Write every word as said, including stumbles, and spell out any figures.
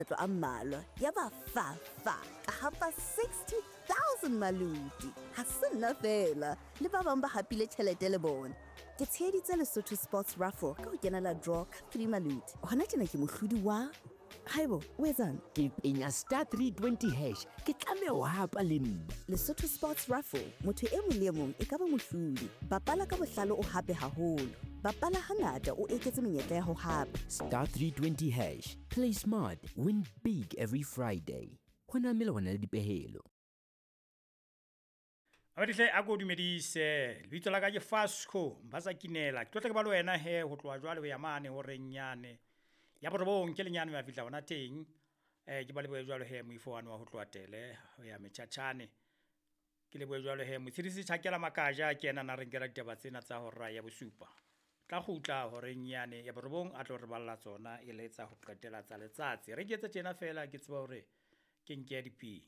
Makgetlo a mmalwa yaba fa fa ka hapa sixty thousand maluti. Ha se nna feela, le ba bang ba hapile tjhelete le bona. Ke tsheheditse Lesotho Sports Raffle ka ho kenela draw ka three maluti. Hona tjena ke mohlodi wa Haibo, o etsang? Ke penya star three twenty hash, ke tlameha ho hapa le nna. Lesotho Sports Raffle, motho e mong le e mong e ka ba mohlodi. Bapala ka bohlale o hape haholo. Bapala hangata o eketse menyetla ya ho hapa. Star three twenty hash, play smart, win big every Friday. Ho na melawana le dipehelo. Abadihle a ko dumedise. Lebitso la ka ke Fasco Mbasa Kinela. Ke tlotla ke ba le wena he ho tloha jwale ho ya mane ho renyane. Ya borobong ke lenyane ya fihla hona teng. Eh ke ba lebohe jwalo he moifo wa ho tloha tele ho ya metjhatjhane. Ke lebohe jwalo he motshedisi Tjhakela Makaja ke yena na re nkela ditaba tsena tsa hora ya bosupa. Tla kgutla horeng yane ya borobong a tlo re balla tsona e le tsa ho qetela tsa letsatsi. Re ke etse tjena feela ke tseba hore ke nke diping.